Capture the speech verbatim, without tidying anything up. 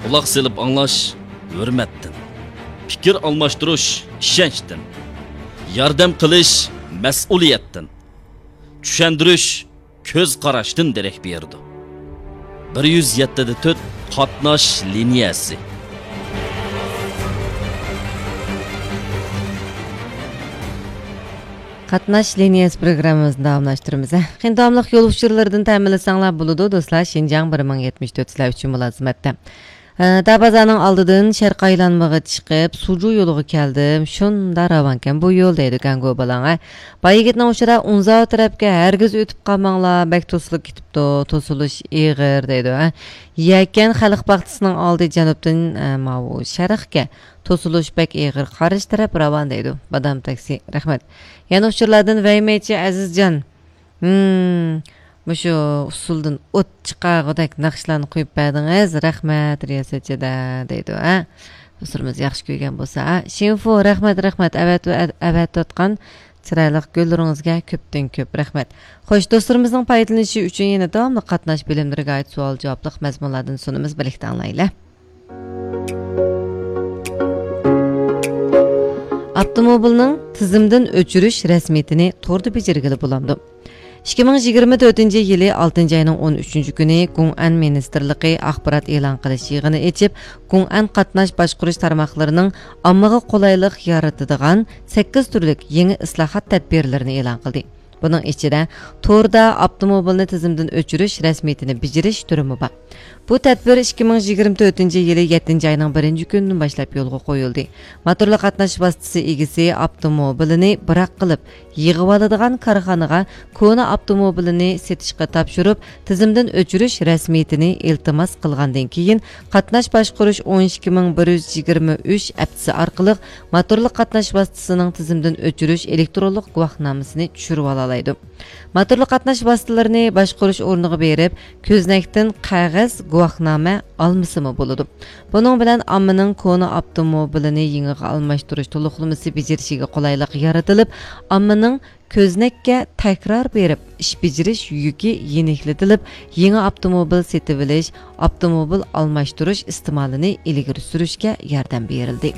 قۇلاق سېلىپ ئاڭلاش ھۆرمەتتىن، پىكىر ئالماشتۇرۇش ئىشەنچتىن، ياردەم قىلىش مەسئۇلىيەتتىن، چۈشەندۈرۈش كۆز قاراشتىن دېرەك بېرىدۇ. بىر يۈز يەتتە دە تۆت قاتناش لىنىيەسى. قاتناش لىنىيەسى پروگراممىمىزنى داۋاملاشتۇرىمىز. قېنى، داۋاملىق يول ئۇچۇرلىرىدىن تەمىنلىسەڭلار بولىدۇ، دوستلار. شىنجاڭ بىر مىڭ يەتمىش تۆت سىلەر ئۈچۈن مۇلازىمەتتە. ئە، دابازارنىڭ ئالدىدىن شەرقىي ئايلانمىغا چىقىپ، سۇجۇ يولىغا كەلدىم. شۇنداق راۋانكەن بۇ يول، دەيدۇ گاڭگو بالاڭ، ئە. باي يىگىتنىڭ ئۇچىدا ئۇنزاۋ تەرەپكە ھەرگىز ئۆتۈپ قالماڭلار، بەك توسۇلۇپ كېتىپتۇ، توسۇلۇش ئېغىر، دەيدۇ، ئە. يەكەن خەلق باغچىسىنىڭ ئالدى جەنۇبتىن، ئە، ماۋۇ شەرقكە، توسۇلۇش بەك ئېغىر، قارشى تەرەپ راۋان، دەيدۇ. بادام تاكسى، رەھمەت. يەنە ئۇچۇرلاردىن ۋەيمەيچى ئەزىزجان. ھىم، مۇشۇ ئۇسسۇلدىن ئوت چىقارغۇدەك ناخشىلارنى قويۇپ بەردىڭىز. رەھمەت، رىياسەتچىدە، دەيدۇ، ھە؟ دوستلىرىمىز ياخشى كۆرگەن بولسا، ھە؟ شىنفۇ، رەھمەت، رەھمەت. ئەۋەت-، ئەۋەتىۋاتقان چىرايلىق گۈللىرىڭىزگە كۆپتىن كۆپ رەھمەت. خوش، دوستلىرىمىزنىڭ پايدىلىنىشى ئۈچۈن يەنە داۋاملىق قاتناش بۆلۈملىرىگە ئائىت سوئال-جاۋابلىق مەزمۇنلاردىن سۇنىمىز، بىرلىكتە ئاڭلايلى. ئاپتوموبىلنىڭ تىزىمدىن ئۆچۈرۈش رەسمىيىتىنى توردا بېجىرگىلى بولامدۇ؟ ئىككى مىڭ يىگىرمە تۆتىنچى يىلى ئالتىنچى ئاينىڭ ئون ئۈچىنچى كۈنى گۇڭئەن مىنىستىرلىقى ئاخبارات ئېلان قىلىش يىغىنى ئېچىپ، گۇڭئەن قاتناش باشقۇرۇش تارماقلىرىنىڭ ئاممىغا قولايلىق يارىتىدىغان سەككىز تۈرلۈك يېڭى ئىسلاھات تەدبىرلىرىنى ئېلان قىلدى. بۇنىڭ ئىچىدە توردا ئاپتوموبىلنى تىزىمدىن ئۆچۈرۈش رەسمىيىتىنى بېجىرىش تۈرىمۇ بار. بۇ تەدبىر ئىككى مىڭ يىگىرمە تۆتىنچى يىلى يەتتىنچى ئاينىڭ بىرىنچى كۈنىدىن باشلاپ يولغا قويۇلدى. موتورلۇق قاتناش ۋاسىتىسى ئىگىسى ئاپتوموبىلىنى بىراق قىلىپ يىغىۋالىدىغان كارخانىغا كونا ئاپتوموبىلىنى سېتىشقا تاپشۇرۇپ، تىزىمدىن ئۆچۈرۈش رەسمىيىتىنى ئىلتىماس قىلغاندىن كېيىن، قاتناش باشقۇرۇش ئون ئىككى مىڭ بىر يۈز يىگىرمە ئۈچ ئەپتىسى ئارقىلىق موتورلۇق قاتناش ۋاسىتىسىنىڭ تىزىمدىن ئۆچۈرۈش ئېلېكترونلۇق گۇۋاھنامىسىنى چۈشۈرۈۋالالايدۇ. موتورلۇق قاتناش ۋاسىتىلىرىنى باشقۇرۇش ئورنىغا بېرىپ، كۆزنەكتىن قەغەز گۇۋاھنامە ئالمىسىمۇ بولىدۇ. بۇنىڭ بىلەن ئاممىنىڭ كونا ئاپتوموبىلىنى يېڭىغا ئالماشتۇرۇش تولۇقلىمىسى بېجىرىشىگە قولايلىق يارىتىلىپ، ئاممىنىڭ كۆزنەككە تەكرار بېرىپ ئىش بېجىرىش يۈكى يېنىكلىتىلىپ، يېڭى ئاپتوموبىل سېتىۋېلىش، ئاپتوموبىل ئالماشتۇرۇش ئىستېمالىنى ئىلگىرى سۈرۈشكە ياردەم بېرىلدى.